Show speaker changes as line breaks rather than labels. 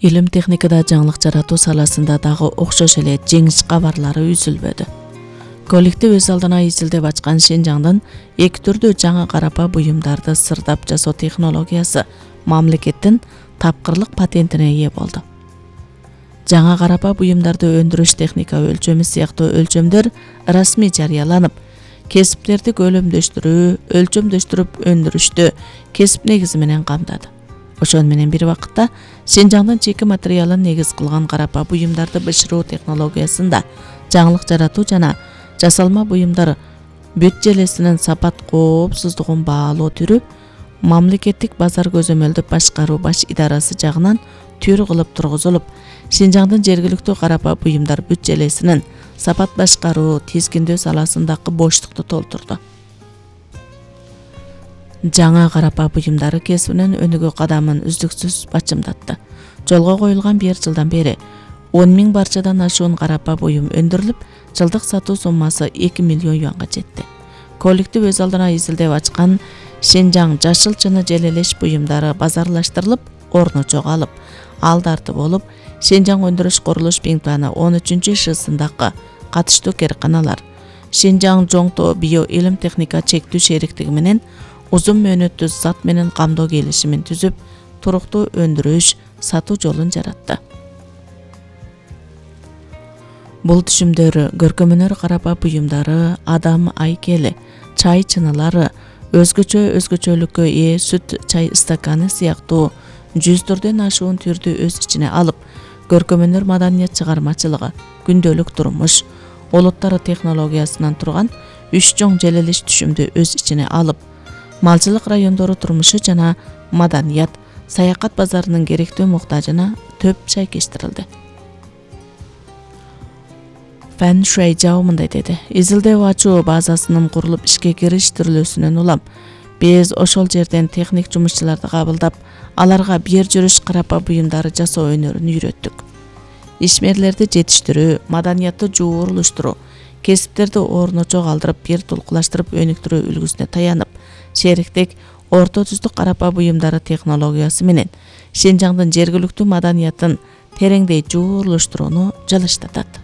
Илим техникада жаңылык жаратуу саласында дагы окшош эле жеңиш кабарлары үзүлбөдү. Коллектив өз алдына изилдеп ачкан Шинжаңдын эки түрдүү жаңа карапа буюмдарды сырдап жасоо технологиясы мамлекеттин тапкырлык патентине ээ болду. Жаңа карапа буюмдарды өндүрүш техника өлчөмү сыяктуу өлчөмдөр расмий жарыяланып, кесиптерди көлөмдөштүрүү, өлчөмдөштүрүп өндүрүштү кесип негизи менен камдады. Ошон менен бир убакытта Шинжаңдын чеки материалын негиз кылган карапа буюмдарды бышыруу технологиясында жаңылык жаратуу жана жасалма буюмдар бүт желесинин сапат коопсуздугун баалоо түрү мамлекеттик базар көзөмөлдү башкаруу баш идарасы жагынан түр кылып тургузулуп, Шинжаңдын жергиликтүү карапа буюмдар бүт желесинин сапат башкаруу, тизгиндөө саласындагы боштукту толтурду. Жаңа карапа буюмдары кесибинин өнүгүү кадамын үздүксүз бачымдатты. Жолго коюлган 1 жылдан бери 10 000 барчадан ашуун карапа буюм өндүрүлүп, жылдык сатуу суммасы 2 миллион юанга жетти. Коллектив өз алдына изилдеп ачкан Шинжаң жашыл чыны желелеш буюмдары базарлаштырылып, орну жогалып, алдарты болуп, Шинжаң өндүрүш курулуш имтиханы 13-шысындагы катыштуу кээрканалар, Шинжаң Жоңто био илим техника чектүү шериктиги менен узун мөөнөттүү зат менен камдоо келишимин түзүп, туруктуу өндүрүш, сатуу жолун жаратты. Бул түшүмдөр көркөмөнөр карапа буюмдары, адам айкели, чай чынылары, өзгөчөлүккө ээ сүт чай стаканы сыяктуу 100 ашуун түрдү өз ичине алып, көркөмөнөр маданият чыгармачылыгы, күндөлүк турмуш, олуттары технологиясынан турган 3 чоң желелеш түшүмдү өз ичине алып, малчылык райондору турмушу жана маданият, саякат базарынын керектүү муктажына төп шайкештирилди. Фэн Шуайжао мындай деди: изилдеп ачуу базасынын курулуп ишке кириштирилүүсүнөн улам биз ошол жерден техник жумушчуларды кабылдап, аларга бир жүрүш карапа буюмдары жасоо өнөрүн үйрөттүк. Ишмерлерди жетиштирүү, маданиятты жуурулуштуруу, кесиптерди орночо калтырып, бир тулкулаштырып өнүктүрүү үлгүсүнө таянып, шериктик орто түздүк карапа буюмдары технологиясы менен Шинжаңдын жергиликтүү маданиятын тереңдей жуурулуштурууну жалыштатат.